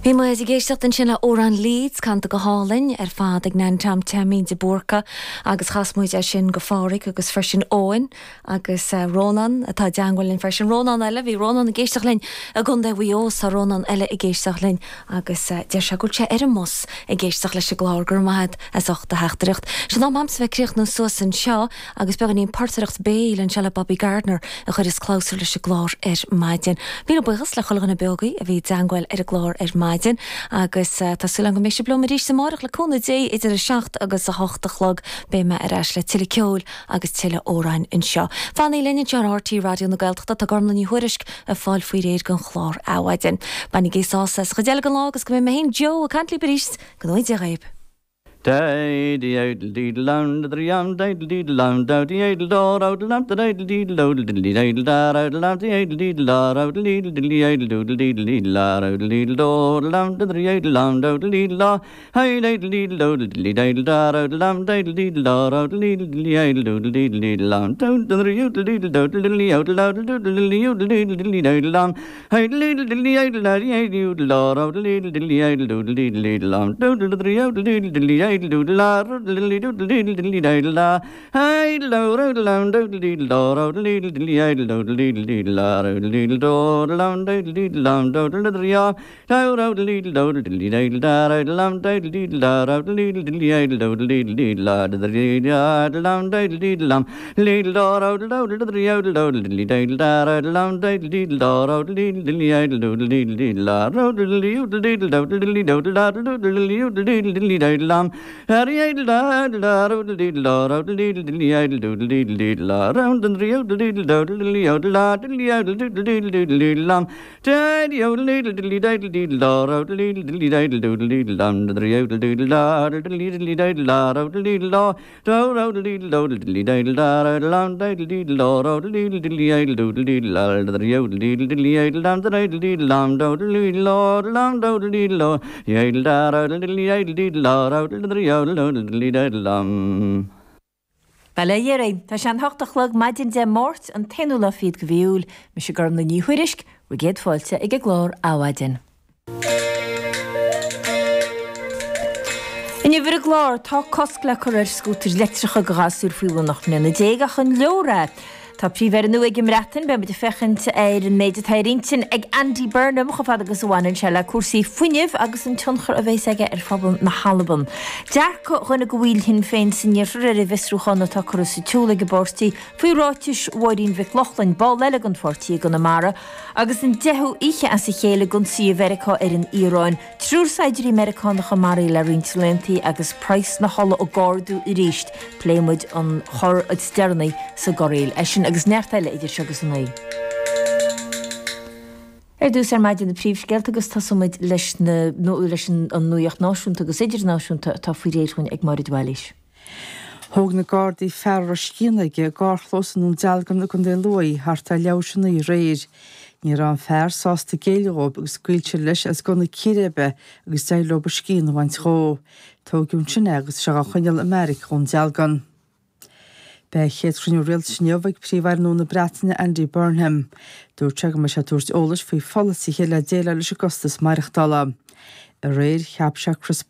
Bhí muid ag éisteacht ansin le Amhrán Leeds, canta go hálainn ar fad ag Nan Tom Taimín de Búrca agus chas muid é sin go Phádhraic agus freisin Eoin agus Rónán atá i dteangmháil linn freisin. Rónán eile, bhí Rónán ag éisteacht linn i gContae Mhaigh Eo, tá Rónán eile ag éisteacht linn agus deir sé go bhfuil sé ar an mbus ag éisteacht leis an gclár. Go raibh maith agat as ucht do theachtaireacht. Sin am a'msa bheith ag críochnú suas anseo. Agus beagáinín portaireacht béil anseo le Bobby Gardiner a chuireas clabhsúr leis an gclár ar maidin. Míle buíochas le chuile dhuine beo agaibh a bhí i dteangmháil ar an gclár ar maidin agus tá súil agam go mbeidh sibh liom arís amárach le cúnamh Dé idir 7 agus 8 a chlog. Beidh mé ar ais le tuilleadh ceoil agus tuilleadh amhráin anseo. Fanaigí linn anseo ar RTÉ Raidió na Gaeltachta, tá Gormlaith Ní Thuairisg ag fáil faoi réir don chlár Adhmhaidin. Bainigí sásamh as an chuid eile den lá agus go mbeidh mé féin Joe ag caint libh arís. Go ngnóthaí Dia dhaoibh. Bail ó Dhia oraibh. Tá sé an hocht a chlog maidin Dé Máirt, an t-aonú lá fichead de mhí Iúil. Mise Gormlaith Ní Thuairisg, bhur gcéad fáilte ag an gclár Adhmhaidin. Inniu ar an gclár, tá cosc le cur ar scútair leictreacha do ghasúir faoi bhun 18 mbliana ach an leor é? Tá Príomh-Aire nua ag an mBreatain, beidh muid ag féachaint ar an méid atá ar intinn ag Andy Burnham chomh fada agus a bhaineann sé le cúrsaí fuinnimh agus an tionchar a bheas aige ar phobal na hAlban. Dearcadh dhuine de bhaill Shinn Féin san iarthar ar an bhfiosrúchán atá curtha sa tsiúl ag an bpáirtí faoi ráitis Mháirín Mhic Lochlainn, ball eile den pháirtí i gConamara, agus an deichiú oíche as a chéile d'ionsaí Mheiriceá ar an Iaráin. Triúr saighdiúirí Meiriceánacha maraithe le roinnt laethanta agus praghas na hola ag ardú arís. Pléifidh muid an cor is deireanaí sa gcorraíl. É sin agus neart eile idir seo agus a naoi. Ar dtús ar maidin na príomhscéalta agus tosóidh muid leis na leis an nuaíocht náisiúnta agus idirnáisiúnta atá faoi réir dhúinn ag Máire de Bhailís. Thóg na Gardaí fear a raibh scian aige i gcarrchlós i nDún Dealgan i gContae Lú thart ar leathuair tar éis a naoi aréir. Ní raibh an fear sásta géilleadh dhóibh agus scaoil siad leis as gunna círéibe agus d'éirigh leo a scian a bhaint dhó. Tógadh ansin é agus tá sé dhá choinneáil i mbeairic Dhún Dealgan. Beidh a chéad chruinniú rialtais inniu ag Príomh-Aire nua na Breataine Andy Burnham. Dúirt sé go mbeidh sé ag tabhairt eolais faoi pholasaithe le déileáil leis an gcostas maireachtála. Aréir, cheap sé Chris.